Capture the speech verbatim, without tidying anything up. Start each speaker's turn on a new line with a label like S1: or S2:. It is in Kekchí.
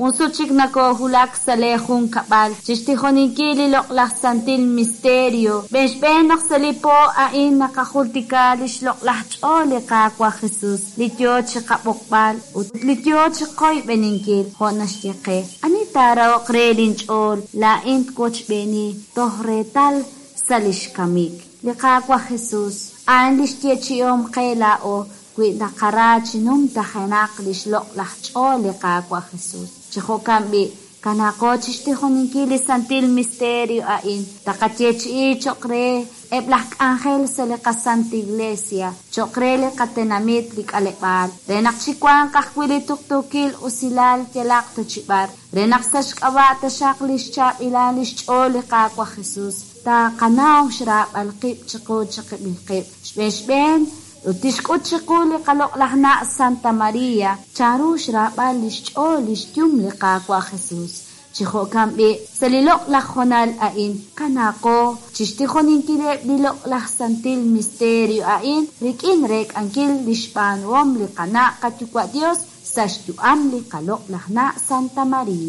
S1: Jun sut chik nakoohulak sa' lee junkab'al chi xtijoninkil li loq'laj santil misterio. Xb'een xb'een naq sa' li po a'in naqajultika li xloq'laj ch'ool li Qaawa' Jesus, li yo chi qab'oqb'al ut li yo chi qoyb'eninkil, jo' naxye qe: Ani taarahoq re linch'ool, laa'in twochb'eeni toj reetal sa' li xkamik. Li Qaawa' Jesus, a'an li xyeechi'om qe laa'o wi naqara chi numtajenaq li xloq'laj ch'ool li Qaawa' Jesus. Chi jo'kan b'i', kanaaqo chi xtijoninkil li santil misterio a'in, taqayeechi'i cho'q re eb' laj k'anjel sa' li qasanta Iglesia, cho'q re li qatenamit li k'aleb'aal, re naq chiwanq ajwi' li tuqtuukil usilal yalaq ta chi b'ar, re naq sa' xk'ab'a' taxaq li xchaab'ilal li xch'ool li Qaawa' Jesus, taqanaw xraab'al qib' chiqu chiqib'il qib'. Xb'een xb'een ut tixk'ut chiqu li qaloq'laj na' Santa Maria, chanru xraab'al li xch'ool li xyum li Qaawa' Jesus. Chi jo'kan b'i', sa' li loq'laj honal a'in, kanaaqo chi xtijoninkileb' li loq'laj santil misterio a'in rik'in reek'ankil li xb'aanuhom li qana' qayuwa' Dios sa' xyu'am li qaloq'laj na' Santa Maria.